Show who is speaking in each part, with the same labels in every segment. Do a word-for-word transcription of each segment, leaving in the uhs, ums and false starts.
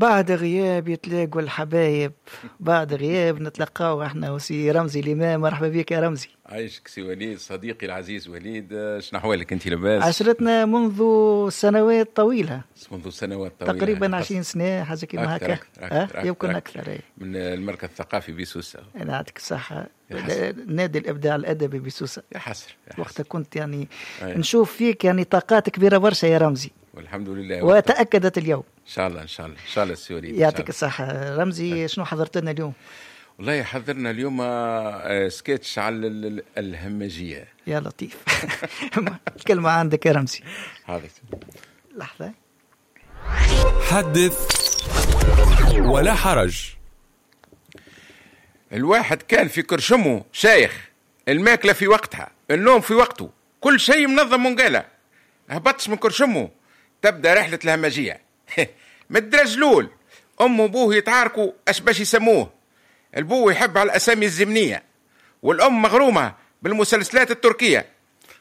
Speaker 1: وبعد غياب يتلاقوا الحبايب، بعد غياب نتلقاو احنا وسي رمزي الإمام. مرحبا بك يا رمزي.
Speaker 2: عايشك سي وليد، صديقي العزيز وليد، شنو احوالك انت؟ لاباس؟
Speaker 1: عشرتنا منذ سنوات طويلة،
Speaker 2: منذ سنوات طويلة،
Speaker 1: تقريبا عشرين سنة حاجة كيما هكا، يمكن اكثر.
Speaker 2: من المركز الثقافي بسوسه.
Speaker 1: انا يعطيك الصحة، نادي الابداع الادبي بسوسه.
Speaker 2: يا حسر
Speaker 1: وقتها كنت يعني أي. نشوف فيك يعني طاقات كبيرة برشا يا رمزي،
Speaker 2: والحمد لله
Speaker 1: وتاكدت اليوم.
Speaker 2: ان شاء الله ان شاء الله ان شاء الله سي وليد.
Speaker 1: يعطيك الصحة رمزي. شنو حضرت لنا اليوم؟
Speaker 2: والله حضرنا اليوم سكتش على الهمجية.
Speaker 1: يا لطيف. الكلمة عندك يا رمزي.
Speaker 2: حاضر،
Speaker 1: لحظة.
Speaker 3: حدث ولا حرج.
Speaker 2: الواحد كان في كرشمه شايخ، الماكلة في وقتها، النوم في وقته، كل شيء منظم منقالة. هبطش من كرشمه تبدأ رحلة الهمجية. مدرجلول أم وبوه يتعاركوا أش باش يسموه. البو يحب على الأسامي الزمنية، والأم مغرومة بالمسلسلات التركية،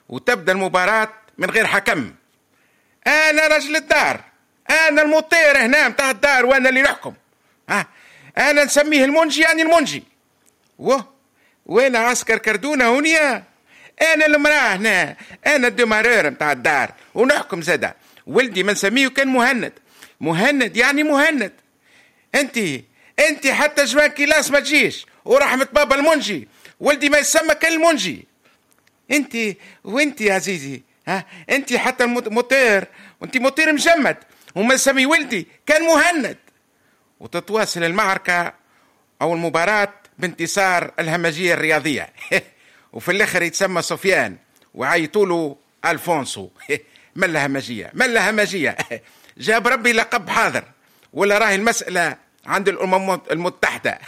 Speaker 2: وتبدأ المباراة من غير حكم. أنا رجل الدار، أنا المطير هنا متاع الدار، وأنا اللي نحكم. ها أنا نسميه المنجي، يعني المنجي. وه وين عسكر كردونة هونيا؟ أنا المرأة هنا، أنا ال démarreur متاع الدار ونحكم زادا. ولدي ما نسميه كان مهند، مهند يعني مهند. انت انت حتى joint culasse ما تجيش، ورحمة بابا المنجي ولدي ما يسمى كان المنجي. انت وانت يا عزيزي، ها انت حتى الموتير، وانت موتير مجمد، وما نسمي ولدي كان مهند. وتتواصل المعركة او المباراة بانتصار الهمجية الرياضية. وفي الاخر يتسمى سفيان وعيطولو الفونسو. ملا همجية، ملا همجية. جاب ربي لقب حاضر، ولا راهي المسألة عند الأمم المتحدة.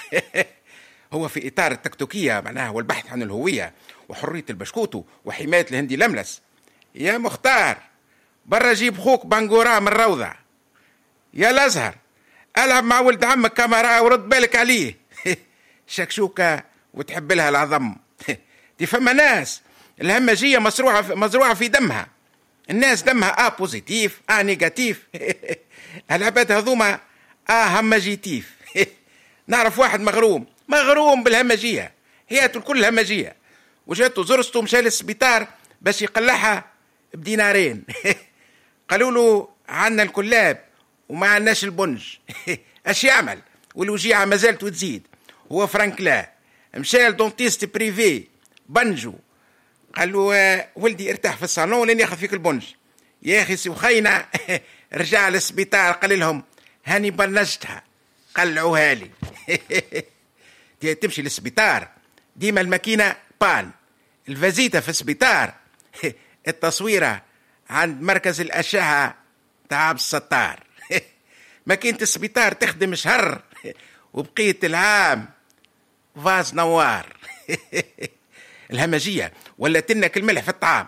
Speaker 2: هو في إطار التكتيكية معناها، والبحث عن الهوية وحرية البشكوتو وحماية الهندي لملس. يا مختار برا جيب خوك بانغورا من روضة. يا الأزهر ألعب مع ولد عمك كاميرا ورد بالك عليه. شكشوكة وتحب لها العظم. دي فما ناس الهمجية مزروعة مزروعة في دمها. الناس دمها A positif، A négatif. العباد هذوما A همجيتيف. نعرف واحد مغروم مغروم بالهمجية، حياته الكل همجية، وجاته زرسته مشى للسبيطار باش يقلعها بدينارين. قالوا له عنا الكلاب وما عناش البنج. اش يعمل والوجيعة ما زالت وتزيد. هو فرانكلا مشى ل dentiste privé بنجو، قال له ولدي ارتاح في الصالون لين ياخذ فيك البنج. يا اخي سوخينا رجع للسبيطار قال لهم هاني بنجتها قلعوها لي. تمشي للسبيطار ديما الماكينة panne، الفازيتا في السبيطار، التصويره عند مركز الاشعة تاع عبد الستار. ماكينة السبيطار تخدم شهر وبقية العام vase نوار. الهمجية ولا لنا الملح في الطعام.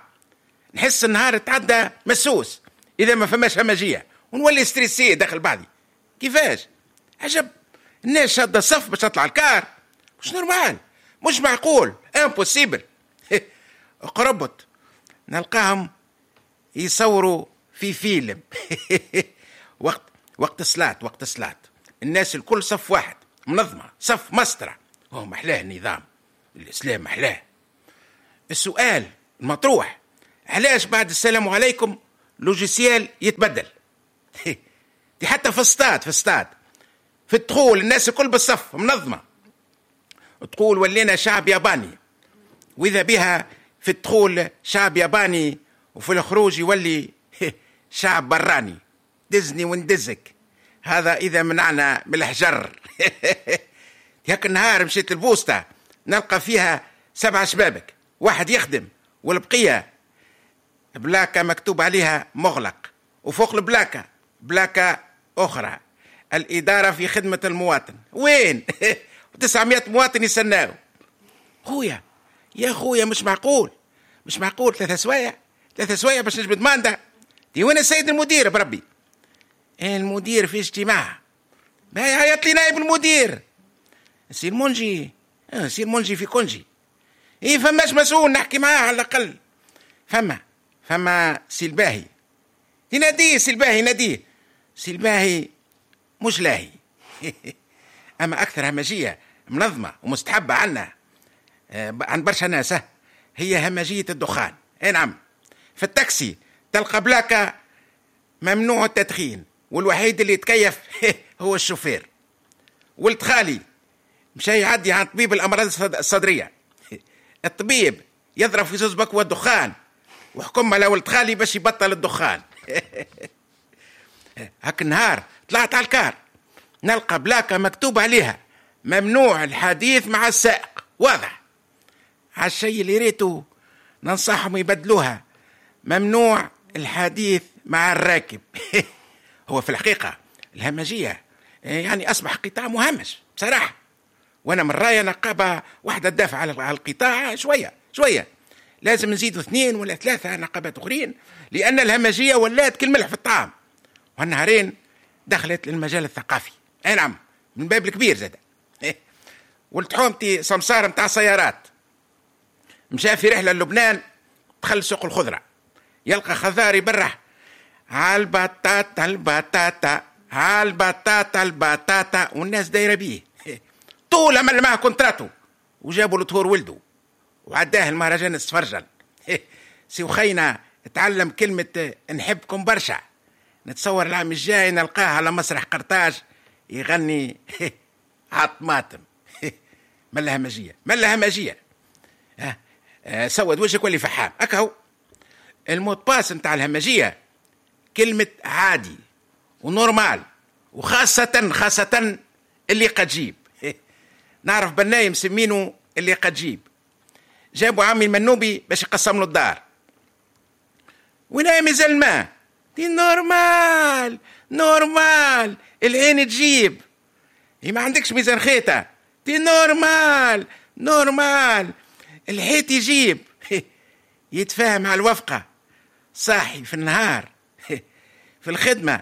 Speaker 2: نحس النهار تعدى مسوس اذا ما فماش همجية، ونولي stressé داخل بعضي. كيفاش؟ عجب، الناس شاده الصف باش تطلع الكار، مش normal، مش معقول، impossible. قربت نلقاهم يصوروا في فيلم. وقت وقت الصلاة، وقت الصلاة الناس الكل صف واحد منظمة، صف مسطرة. هو محلاه النظام، الاسلام محلاه. السؤال المطروح، علاش بعد السلام عليكم logiciel يتبدل؟ دي حتى في الستاد، في الستاد في الدخول الناس الكل بالصف منظمة، تقول ولينا شعب ياباني، وإذا بها في الدخول شعب ياباني وفي الخروج يولي شعب براني. دزني وندزك، هذا إذا منعنا من الحجر. هيك النهار مشيت البوسطة نلقى فيها سبعة شبابك، واحد يخدم والبقية بلاكة مكتوب عليها مغلق، وفوق البلاكة بلاكة أخرى الإدارة في خدمة المواطن. وين؟ تسعمية مواطن يستناو. خويا يا خويا مش معقول، مش معقول ثلاثة سوايع، ثلاثة سوايع باش نجبد mandat. دي وين السيد المدير بربي؟ المدير في اجتماع. ما يعيط لي نائب المدير سي المنجي. اه سي المنجي في congé. ايه فماش مسؤول نحكي معاه على الاقل. فما فما سي الباهي، يناديه سي الباهي، ناديه سي الباهي. مش لاهي. اما اكثر همجية منظمة ومستحبه عنا عند برشا ناس هي همجية الدخان. اي نعم، في التاكسي تلقى بلاكه ممنوع التدخين، والوحيد اللي يتكيف هو الشوفير. ولد خالي مشى يعدي عن طبيب الامراض الصدرية، الطبيب يضرب في زوز بكوة الدخان وحكم على ولد خالي باش يبطل الدخان. هاك النهار طلعت على الكار نلقى بلاكه مكتوب عليها ممنوع الحديث مع السائق. واضح على الشيء اللي ريته، ننصحهم يبدلوها ممنوع الحديث مع الراكب. هو في الحقيقة الهمجية يعني أصبح قطاع مهمش بصراحة، وأنا من رأيي نقابة واحدة تدافع على القطاع شوية شوية، لازم نزيدوا اثنين ولا ثلاثة نقابات أخرين، لأن الهمجية ولات كالملح في الطعام. وهالنهارين دخلت للمجال الثقافي، أي نعم، من باب الكبير زاد. ولد حومتي سمسار متاع سيارات مشى في رحلة للبنان، دخل سوق الخضرة يلقى خضار يبرح عالبطاطا البطاطا عالبطاطا البطاطا، والناس دايرة بيه. طول عمل معاه كونتراتو وجابوا له طهور ولده وعداه المهرجان السفرجل. سي وخينا تعلم كلمة نحبكم برشا، نتصور العام الجاي نلقاه على مسرح قرطاج يغني عطماطم. ملا همجية ملا همجية. سود وجهك ولي فحام. أكهو ال mot de passe نتاع الهمجية كلمة عادي و normal، وخاصة خاصة اللي قد جيب. نعرف بناي مسمينه اللي قد جيب، جابوا عمي المنوبي باش يقسم له الدار. وين مازال الماء؟ دي normal normal، العين تجيب. ما عندكش ميزان خيطة؟ دي normal normal، الحيط يجيب. يتفاهم على الوفقة، صاحي في النهار في الخدمة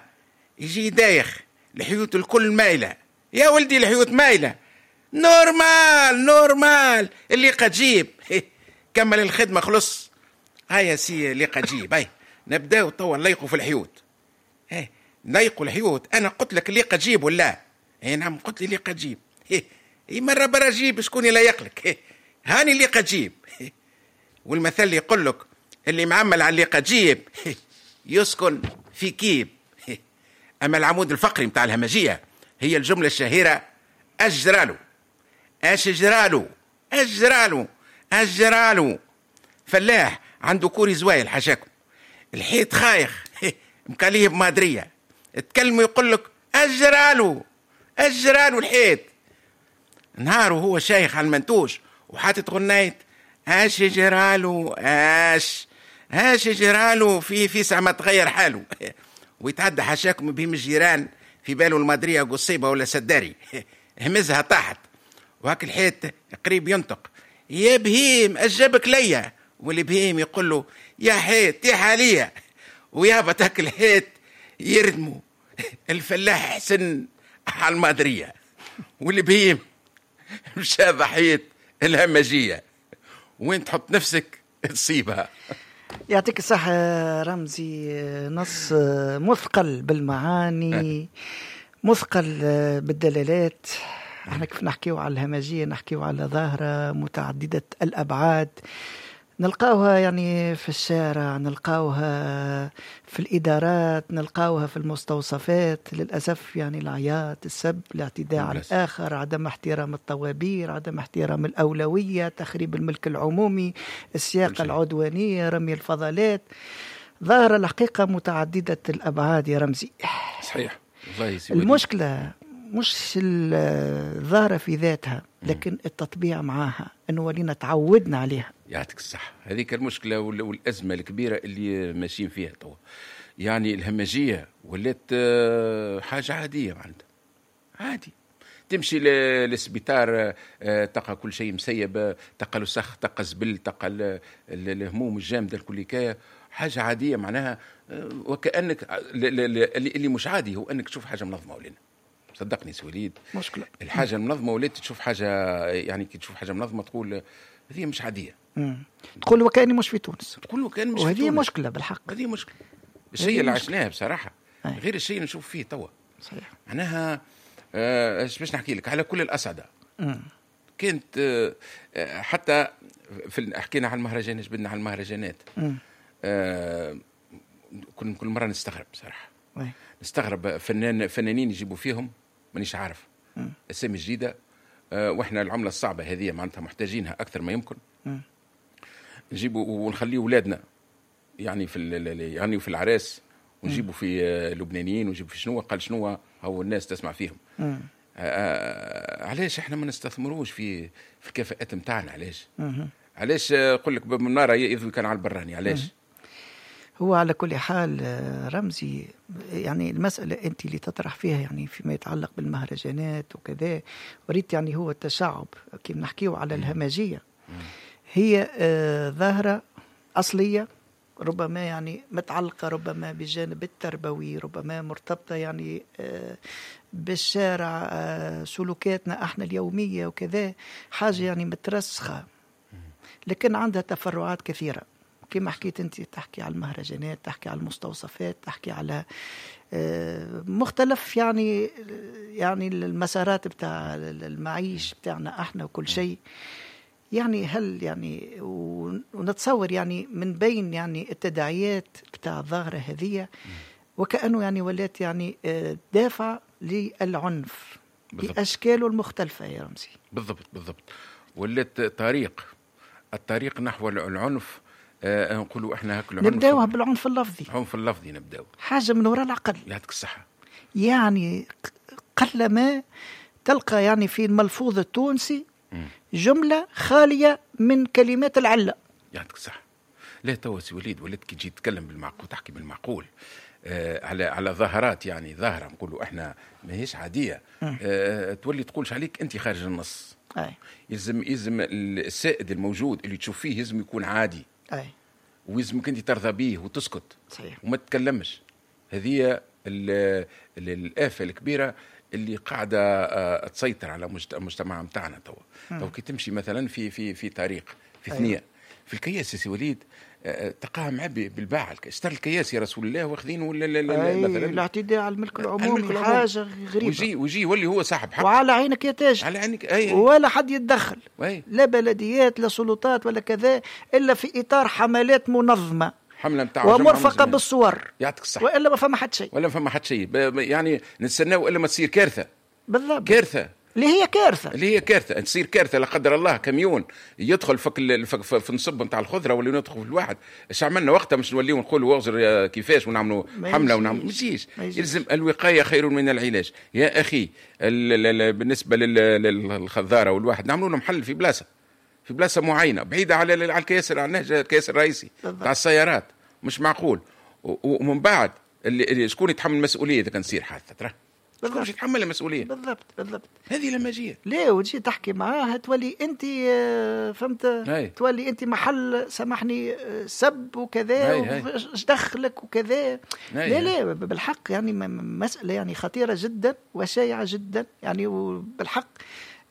Speaker 2: يجي دايخ، الحيوت الكل مايلة. يا ولدي الحيوت مايلة، normal normal، اللي قد جيب. كمل الخدمة خلص، هيا سي اللي قد جيب، هاي نبداو توا نليقوا في الحيوت. هاي نليقوا الحيوت، انا قلت لك اللي قد جيب ولا؟ اي نعم قلت لي اللي قد جيب. اي مرة برا جيب شكون يليق لك؟ هاني اللي قد جيب. والمثل اللي يقول لك اللي معمل على اللي قد جيب يسكن في كيب. اما العمود الفقري متاع الهمجية هي الجملة الشهيرة اجرالو اش جرالو اجرالو اجرالو. فلاح عنده كوري زوايل حاشاكم، الحيط خايخ مكاليه بمادريه، تكلموا يقول لك اجرالو اجرالو الحيط. نهار وهو شايخ على المنتوش وحاطط غنايه اش جرالو اش اش جرالو في في ساعة ما تغير حاله. ويتعدى حاشاكم بهم الجيران في باله المادريه قصيبه ولا سداري، همزها طاحت وهاك الحيط قريب ينطق يا بهيم اجابك ليا، واللي بهيم يقول له يا حيط يا حالية، ويابا هاك الحيط يردمو. الفلاح حسن على المادريه واللي بهيم مشى ضحية الهمجية. وين تحط نفسك تصيبها.
Speaker 1: يعطيك الصحة رمزي، نص مثقل بالمعاني، مثقل بالدلالات. احنا كيف نحكيو على الهمجية نحكيو على ظاهرة متعددة الأبعاد، نلقاوها يعني في الشارع، نلقاوها في الإدارات، نلقاوها في المستوصفات للأسف. يعني العياط، السب، الاعتداء على الآخر، عدم احترام الطوابير، عدم احترام الأولوية، تخريب الملك العمومي، السياقة العدوانية، رمي الفضلات. ظاهرة الحقيقة متعددة الأبعاد يا رمزي.
Speaker 2: صحيح. الله
Speaker 1: المشكلة مش الظاهرة في ذاتها، لكن التطبيع معاها، انه ولينا تعودنا عليها.
Speaker 2: يعطيك الصحة، هذيك المشكلة والأزمة الكبيرة اللي ماشيين فيها توا. يعني الهمجية ولات حاجة عادية، معناتها عادي تمشي للسبيطار تلقى كل شيء مسيب، تلقى الوسخ، تلقى الزبل، تلقى الهموم الجامدة الكل، حاجة عادية معناها. وكأنك اللي مش عادي هو أنك تشوف حاجة منظمة ولنا. صدقني سوليد
Speaker 1: مشكلة
Speaker 2: الحاجة المنظمة ولات تشوف حاجة، يعني كي تشوف حاجة منظمة تقول هذه مش عادية.
Speaker 1: مم. تقول وكأني مش في تونس،
Speaker 2: تقول وكأني مش في
Speaker 1: وهذه
Speaker 2: تونس.
Speaker 1: مشكلة بالحق،
Speaker 2: هذه مشكلة. الشيء اللي عشناه بصراحة أي. غير الشيء اللي نشوف فيه توا.
Speaker 1: صحيح.
Speaker 2: معناها ايش باش نحكي لك على كل الاصعدة. كانت آه حتى في حكينا على المهرجان، جبدنا على المهرجانات. آه كل كل مرة نستغرب صراحة.
Speaker 1: وي.
Speaker 2: نستغرب فنان فنانين يجيبوا فيهم مانيش عارف اسامي جديدة، آه واحنا العملة الصعبة هذه معناتها محتاجينها اكثر ما يمكن. نجيبوا ونخليه اولادنا يعني في يعني في العراس، ونجيبوا في لبنانيين ونجيبوا في شنو قال شنو هو الناس تسمع فيهم. آه آه علاش احنا ما نستثمروش في في الكفاءات نتاعنا؟ علاش؟ علاش نقول لك باب منارة يذوي كان على البراني؟ علاش؟
Speaker 1: هو على كل حال رمزي، يعني المسألة أنت اللي تطرح فيها يعني فيما يتعلق بالمهرجانات وكذا، وريت يعني هو التشعب كي نحكيه على الهمجية، هي ظاهرة أصلية ربما يعني متعلقة ربما بالجانب التربوي، ربما مرتبطة يعني بالشارع، سلوكاتنا احنا اليومية وكذا، حاجة يعني مترسخة، لكن عندها تفرعات كثيرة كما حكيت أنت. تحكي على المهرجانات، تحكي على المستوصفات، تحكي على مختلف يعني يعني المسارات بتاع المعيش بتاعنا احنا وكل شيء. يعني هل يعني ونتصور يعني من بين يعني التداعيات بتاع الظاهرة هذه وكأنه يعني ولات يعني دافع للعنف بأشكاله المختلفة يا رمزي.
Speaker 2: بالضبط بالضبط، ولات طريق الطريق نحو العنف. آه نقولوا احنا هاك العنف
Speaker 1: نبداوها بالعنف اللفظي.
Speaker 2: العنف اللفظي نبداو
Speaker 1: حاجة من وراء العقل.
Speaker 2: يعطيك الصحة.
Speaker 1: يعني قلما تلقى يعني في الملفوظ التونسي جملة خالية من كلمات العلة.
Speaker 2: يعطيك الصحة. لا توا سي وليد وليت كي تجي تتكلم بالمعقول تحكي بالمعقول آه على على ظاهرات يعني ظاهرة نقولوا احنا ماهيش عادية، آه تولي تقولش عليك انت خارج النص.
Speaker 1: أي.
Speaker 2: يلزم يلزم السائد الموجود اللي تشوف فيه يلزم يكون عادي.
Speaker 1: أي.
Speaker 2: ويلزمك انت ترضى به وتسكت.
Speaker 1: صحيح.
Speaker 2: وما تتكلمش. هذه الآفة الكبيرة اللي قاعدة تسيطر على المجتمع نتاعنا توا. تو كي تمشي مثلا في في في طريق في ثنيه. أيوة. في الكياس يا سي وليد تلقاها معبي بالباع، اشترى الكياس يا رسول الله واخذين ولا مثلا
Speaker 1: الاعتداء على الملك العمومي حاجة غريبة.
Speaker 2: ويجي ويجي يولي هو صاحب حق
Speaker 1: وعلى عينك يا تاج،
Speaker 2: على عينك. أي.
Speaker 1: ولا حد يتدخل.
Speaker 2: أي.
Speaker 1: لا بلديات لا سلطات ولا كذا، الا في اطار حملات منظمة،
Speaker 2: حمله نتاع
Speaker 1: ومرفقه بالصور.
Speaker 2: يعطيك الصحة.
Speaker 1: والا ما فما حد شيء،
Speaker 2: ولا فما حد شيء، يعني نستناو الا ما تصير كارثة.
Speaker 1: بالضبط،
Speaker 2: كارثة
Speaker 1: اللي هي كارثة،
Speaker 2: اللي هي كارثة، تصير كارثة لا قدر الله، كميون يدخل فك في, في النصب نتاع الخضرة ولا يدخل في الواحد. اش عملنا وقتها؟ مش نوليو نقولوا واغزر كيفاش ونعملوا حمله ونعملوا، ما يجيش. يلزم الوقاية خير من العلاج يا اخي. بالنسبة للخضاره والواحد نعملوا لهم حل في بلاصة، في بلاصة معينة بعيدة على على الكياس، على النهج الكياس الرئيسي تاع السيارات، مش معقول. ومن بعد اللي شكون يتحمل المسؤولية اذا كان تصير حادثه؟ ترى شكون باش يتحمل المسؤولية؟
Speaker 1: بالضبط بالضبط،
Speaker 2: هذه لمجيه.
Speaker 1: ليه وتجي تحكي معاها تولي انت فهمت، هاي. تولي انت محل سامحني سب وكذا، واش دخلك وكذا. لا لا بالحق يعني مسالة يعني خطيرة جدا وشائعه جدا يعني، وبالحق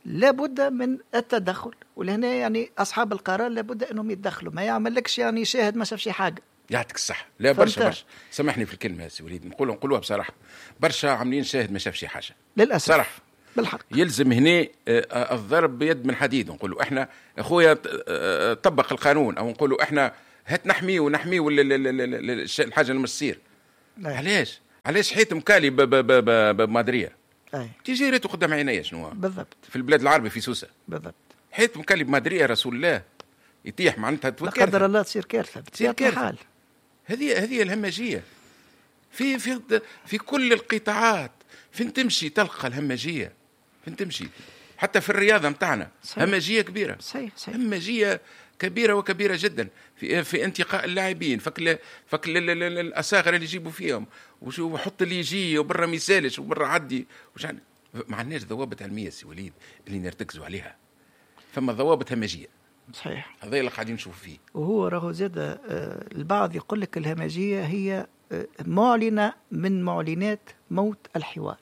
Speaker 1: لابد من التدخل. ولهنا يعني اصحاب القرار لابد انهم يتدخلوا، ما يعملكش يعني شاهد ما شافش حاجة.
Speaker 2: يعطيك الصحة. لا برشا برشا، سامحني في الكلمة يا سي وليد، نقول نقولوها بصراحة، برشا عاملين شاهد ما شافش حاجة
Speaker 1: للأسف.
Speaker 2: صراحة
Speaker 1: بالحق
Speaker 2: يلزم هنا الضرب بيد من حديد. نقولوا احنا اخويا طبق القانون، او نقولوا احنا هات نحمية ونحميه الحاجة اللي مش تصير. علاش علاش حيت مكالي بمادرية تيجي ريتو قدام عينيا شنو
Speaker 1: بالضبط
Speaker 2: في البلاد العربي في سوسة
Speaker 1: بالضبط،
Speaker 2: حيت مكالي بمادرية رسول الله يطيح معناتها
Speaker 1: لا قدر الله تصير كارثة،
Speaker 2: تصير كارثة. هذه هذه الهمجية في في في كل القطاعات. فين تمشي تلقى الهمجية، فين تمشي حتى في الرياضة متاعنا همجية كبيرة.
Speaker 1: صحيح صحيح،
Speaker 2: همجية كبيرة وكبيره جدا في في انتقاء اللاعبين، فك فك الاصاغر اللي يجيبوا فيهم، وحط اللي يجي وبرا ما يسالش وبرا عدي. ما عندناش ضوابط علمية سي وليد اللي نرتكزوا عليها، فما ضوابط همجية.
Speaker 1: صحيح،
Speaker 2: هذا اللي قاعدين نشوف فيه.
Speaker 1: وهو راهو زاد البعض يقول لك الهمجية هي معلنة من معلنات موت الحوار.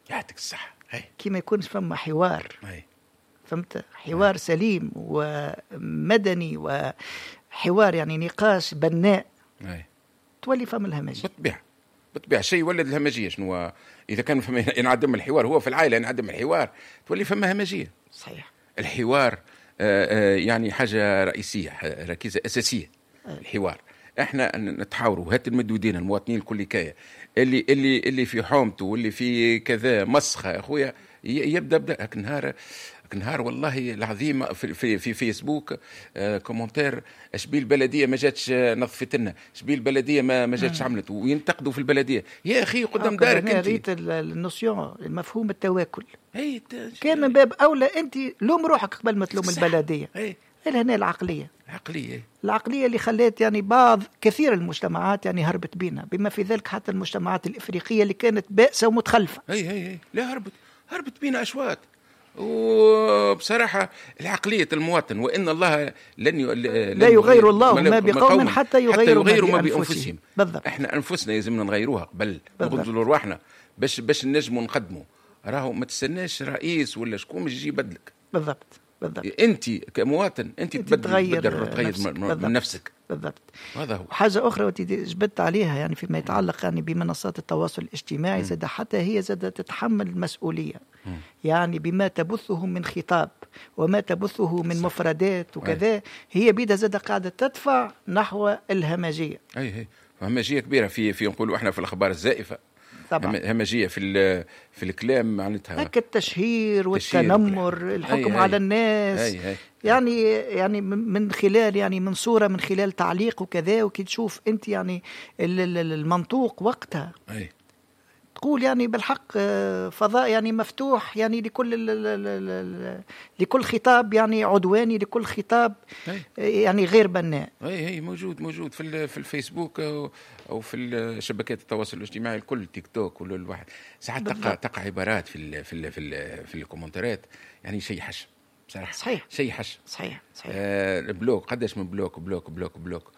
Speaker 2: يعطيك الصحة.
Speaker 1: كي ما يكونش فما حوار.
Speaker 2: هي.
Speaker 1: فهمت؟ حوار هي. سليم ومدني، وحوار يعني نقاش بناء.
Speaker 2: هي.
Speaker 1: تولي فما الهمجية.
Speaker 2: بالطبيعة بالطبيعة شيء يولد الهمجية. شنو اذا كان فما ينعدم الحوار، هو في العائلة ينعدم الحوار تولي فما همجية.
Speaker 1: صحيح.
Speaker 2: الحوار آه، آه، يعني حاجة رئيسية، ركيزة اساسية.
Speaker 1: أي.
Speaker 2: الحوار احنا نتحاوروا، هات المدودين المواطنين الكل كاية اللي اللي اللي في حومته واللي في كذا مسخه يا اخويا يبدا بدا هاك النهار هاك النهار والله العظيم في في, في فيسبوك آه commentaire شبي البلدية ما جاتش نظفت لنا، شبي البلدية ما ما جاتش عملت، وينتقدوا في البلدية. يا اخي قدام دارك
Speaker 1: انت ريت ال notion المفهوم التواكل
Speaker 2: اي
Speaker 1: كان من باب اولى انت لوم روحك قبل ما تلوم البلدية.
Speaker 2: اي
Speaker 1: هنا العقلية
Speaker 2: العقلية
Speaker 1: العقلية اللي خلت يعني بعض كثير المجتمعات يعني هربت بينا، بما في ذلك حتى المجتمعات الافريقية اللي كانت بائسه ومتخلفه.
Speaker 2: اي اي اي لا هربت هربت بينا اشواط. وبصراحة العقلية المواطن، وان الله لن ي... لن
Speaker 1: لا يغير الله ما بقوم حتى يغيروا,
Speaker 2: حتى يغيروا ما بانفسهم.
Speaker 1: بالضبط.
Speaker 2: احنا انفسنا لازمنا نغيروها قبل، نغزلوا رواحنا باش باش نجموا نقدموا. راهو ما تستناش رئيس ولا شكون باش يجي يبدلك.
Speaker 1: بالضبط بالضبط.
Speaker 2: انت كمواطن انت تبدل
Speaker 1: تغير
Speaker 2: تغير
Speaker 1: نفسك.
Speaker 2: من, من نفسك.
Speaker 1: بالضبط.
Speaker 2: هذا هو.
Speaker 1: حاجة اخرى وانت جبدت عليها يعني فيما يتعلق يعني بمنصات التواصل الاجتماعي، زاد حتى هي زاد تتحمل المسؤولية.
Speaker 2: مم.
Speaker 1: يعني بما تبثه من خطاب وما تبثه من مفردات وكذا، هي بيدها زاد قاعدة تدفع نحو الهمجية.
Speaker 2: اي اي همجية كبيرة في في نقولوا احنا في الاخبار الزائفة.
Speaker 1: طبعا.
Speaker 2: همجية في في الكلام معناتها
Speaker 1: هكا التشهير والتنمر، الحكم
Speaker 2: أي
Speaker 1: على
Speaker 2: أي
Speaker 1: الناس.
Speaker 2: أي أي.
Speaker 1: يعني يعني من خلال يعني من صوره، من خلال تعليق وكذا، وكي تشوف انت يعني المنطوق وقتها
Speaker 2: أي.
Speaker 1: تقول يعني بالحق فضاء يعني مفتوح يعني لكل لكل خطاب يعني عدواني، لكل خطاب
Speaker 2: أي.
Speaker 1: يعني غير بناء.
Speaker 2: اي اي موجود موجود في في الفيسبوك او, أو في شبكات التواصل الاجتماعي الكل، تيك توك ولا الواحد ساعات تقع تقع عبارات في ال في ال في, ال في الكومنتات يعني شيء حش بصراحة.
Speaker 1: صحيح.
Speaker 2: شيء حش.
Speaker 1: صحيح صحيح.
Speaker 2: آه bloque، قداش من bloque bloque bloque bloque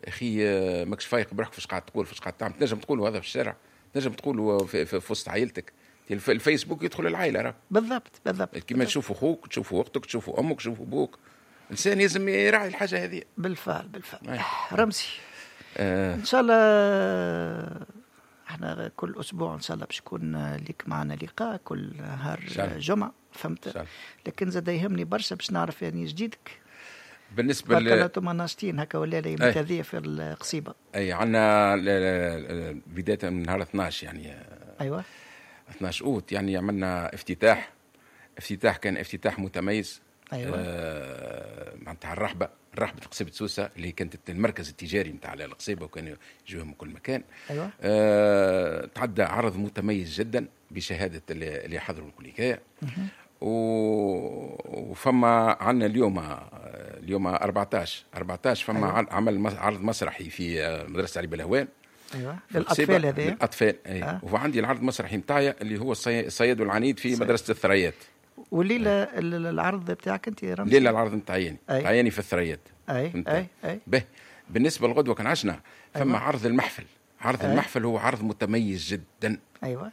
Speaker 2: اخي، آه ماكش فايق بروحك فاش قاعد تقول، فاش قاعد تعمل. تنجم تقول هذا في الشارع، تنجم تقول في, في, في وسط عائلتك. الفيسبوك يدخل العائلة راه.
Speaker 1: بالضبط بالضبط.
Speaker 2: كيما تشوفوا اخوك، تشوفوا اختك، تشوفوا امك، تشوفوا ابوك. الانسان لازم يراعي الحاجة هذه.
Speaker 1: بالفعل بالفعل. رمزي
Speaker 2: آه.
Speaker 1: ان شاء الله احنا كل اسبوع ان شاء الله باش يكون لك معنا لقاء كل نهار جمعه، فهمت؟ لكن زاد يهمني برشا باش نعرف يعني جديدك
Speaker 2: بالنسبة
Speaker 1: ل انتم ناشطين هكا ولا لا هذه في القصيبه.
Speaker 2: اي عندنا بداية من نهار اثناش يعني.
Speaker 1: ايوه
Speaker 2: اثناش اوت يعني عملنا افتتاح، افتتاح كان افتتاح متميز.
Speaker 1: ايوه
Speaker 2: آه معناتها الرحبه، رحبه قصيبه سوسة اللي كانت المركز التجاري نتاع القصيبه وكانوا يجوهم من كل مكان.
Speaker 1: ايوه
Speaker 2: آه تعدى عرض متميز جدا بشهادة اللي حضروا الكليكايه. وفما عندنا اليوم اليوم أربعتاش أربعتاش فما
Speaker 1: أيوة.
Speaker 2: عمل عرض مسرحي في مدرسه علي بلهوان.
Speaker 1: ايوه للاطفال هذا.
Speaker 2: للاطفال اي
Speaker 1: آه.
Speaker 2: وعندي العرض المسرحي نتاعي اللي هو الصياد والعنيد في مدرسه الثريات.
Speaker 1: والليلة العرض بتاعك انت رمزي؟
Speaker 2: الليلة العرض نتاعي نتاعي في الثريات.
Speaker 1: اي اي اي
Speaker 2: به بالنسبة للغدوه كان عشنا فما
Speaker 1: أيوة.
Speaker 2: عرض المحفل. عرض
Speaker 1: أي.
Speaker 2: المحفل هو عرض متميز جدا.
Speaker 1: ايوه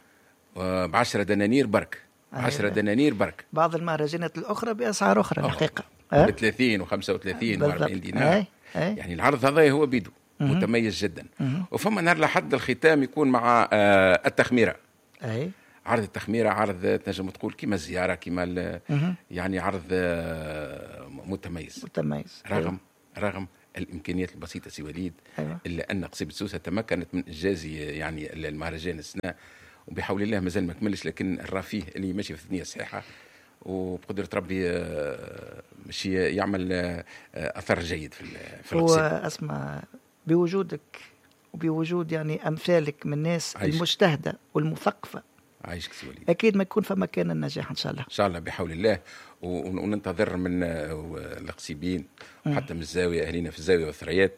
Speaker 2: ب عشرة دنانير برك. عشرة دنانير برك.
Speaker 1: بعض المهرجانات الاخرى باسعار اخرى الحقيقة
Speaker 2: ب ثلاثين وخمسة وثلاثين وأربعين دينار.
Speaker 1: أي. أي.
Speaker 2: يعني العرض هذا هو بيدو
Speaker 1: مم.
Speaker 2: متميز جدا.
Speaker 1: مم.
Speaker 2: وفما نهار لحد الختام يكون مع آه التخميره.
Speaker 1: اي
Speaker 2: عرض التخميره عرض تنجم تقول كيما الزيارة كيما يعني عرض آه متميز.
Speaker 1: متميز
Speaker 2: رغم أيوه. رغم الامكانيات البسيطة سي وليد.
Speaker 1: أيوه.
Speaker 2: الا ان قصيبه سوسة تمكنت من انجاز يعني المهرجان السنة، وبحول الله مازال ما كملش، لكن الرفيه اللي ماشي في الثنية الصحيحة وبقدره ربي ماشي يعمل اثر جيد في في
Speaker 1: القصيدة. هو اسمع بوجودك وبوجود يعني امثالك من الناس
Speaker 2: عايشك.
Speaker 1: المجتهده والمثقفه.
Speaker 2: عايشك سي وليد.
Speaker 1: اكيد ما يكون فما كان النجاح ان شاء الله.
Speaker 2: ان شاء الله بحول الله، وننتظر من القصيبين وحتى من الزاوية، اهلنا في الزاوية والثريات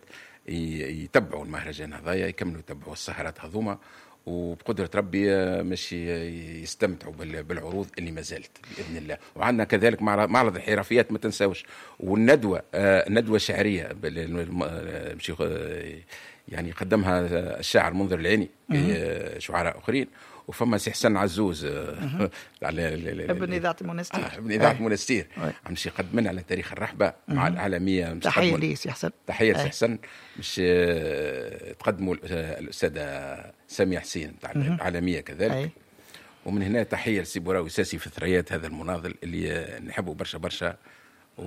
Speaker 2: يتبعوا المهرجان هذايا، يكملوا يتبعوا السهرات هذوما، وبقدرة ربي ماشي يستمتعوا بالعروض اللي ما زالت بإذن الله. وعندنا كذلك معرض الحرفيات ما تنساوش، والندوة ندوة شعرية يعني قدمها الشاعر منذر العيني شعراء آخرين، وفما سي حسن عزوز
Speaker 1: على ابن اذاعة المنستير.
Speaker 2: آه ابن اذاعة المنستير مش يقدم لنا على تاريخ الرحبه مع الاعلامية.
Speaker 1: تحية لي سي حسن.
Speaker 2: تحية لسي حسن. مش تقدموا الاستاذة سامية حسين تاع الاعلامية كذلك. أي. ومن هنا تحية لسي بوراوي ساسي في ثريات هذا المناضل اللي نحبه برشا برشا، و...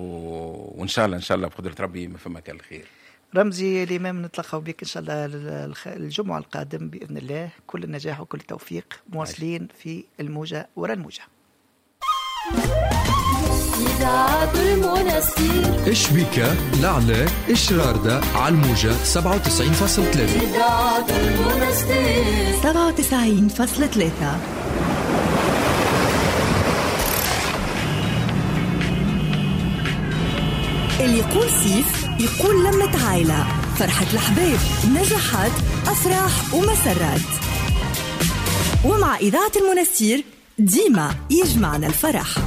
Speaker 2: وان شاء الله ان شاء الله بقدره ربي ما فما كان الخير.
Speaker 1: رمزي الإمام نتلقاو بك إن شاء الله الجمعة القادم بإذن الله. كل النجاح وكل التوفيق. مواصلين في الموجة وراء الموجة.
Speaker 4: إذاعة المنستير
Speaker 5: إشبيكة لعلة إشراردة على الموجة سبعة وتسعين فاصلة ثلاثة.
Speaker 4: إذاعة المنستير
Speaker 6: سبعة وتسعين فاصلة ثلاثة. اللي يقول سيف يقول لمة عائلة، فرحة الأحباب، نجاحات، أفراح ومسرات. ومع إذاعة المنستير ديما يجمعنا الفرح.